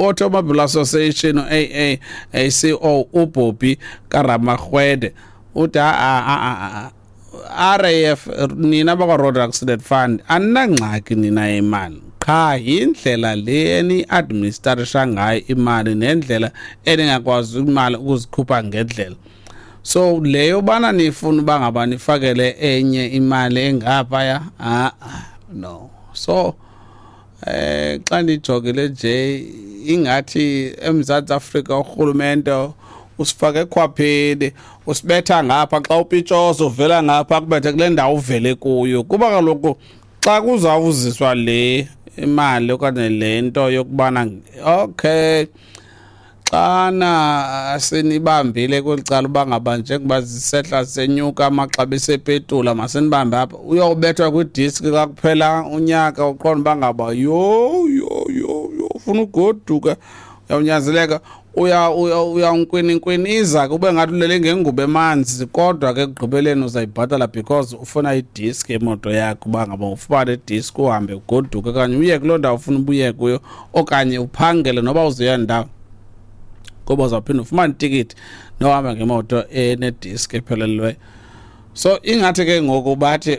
Automobile Association, AACO, uBobby Karamarhwede uthi a RAF, nina bakwa-Road Accident Fund, aninangxaki nina imali, qha yindlela le eni-administratisha ngayo imali nendlela eningakwazi imali ukuzikhupha ngendlela. So leyo bana nifuna uba ngaba nifakele enye imali engaphaya, ah no. So xa ndijongile nje, ingathi eMzantsi Afrika urhulumente usifake ekhwapheni, usibetha ngapha xa upitshoza, uvela ngapha kubethe kule ndawo uvele kuyo, kuba kaloku xa kuzawuziswa le imali okanye le nto yokubana, okay, xana sinibambile kweli cala uba ngaba njengoba zisehla senyuka amaxabiso epetula, masinibambe apha, uyobethwa kwidiski xa kuphela unyaka, uqonda uba ngaba yho yho yho yho, ufuna ugoduka, uyawunyanzeleka, uyawunkwininkwiniza kube ngathi ulele ngengubo emanzi, kodwa ke ekugqibeleni uzayibhatala because ufuna idiski yemoto yakho, uba ngaba ufumane idiski uhambe ugoduke okanye uye kuloo ndawo ufuna ubuye kuyo okanye uphangele noba uzoya ndawo, ngoba uzawuphinda ufumane itikiti nohamba ngemoto enediski ephelelweyo. So ingathi ke ngoku bathi,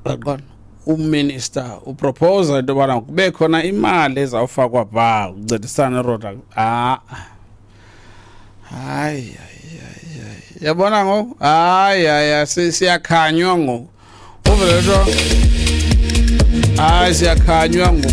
yaqonda, uminister upropose into yobana kube khona imali ezawufakwa phaa ukuncedisana neroad. Ah, hayi hayi hayi, yabona ngoku, hayi hayi, siyakhanywa ngoku, uvele nto, hayi, siyakhanywa ngoku.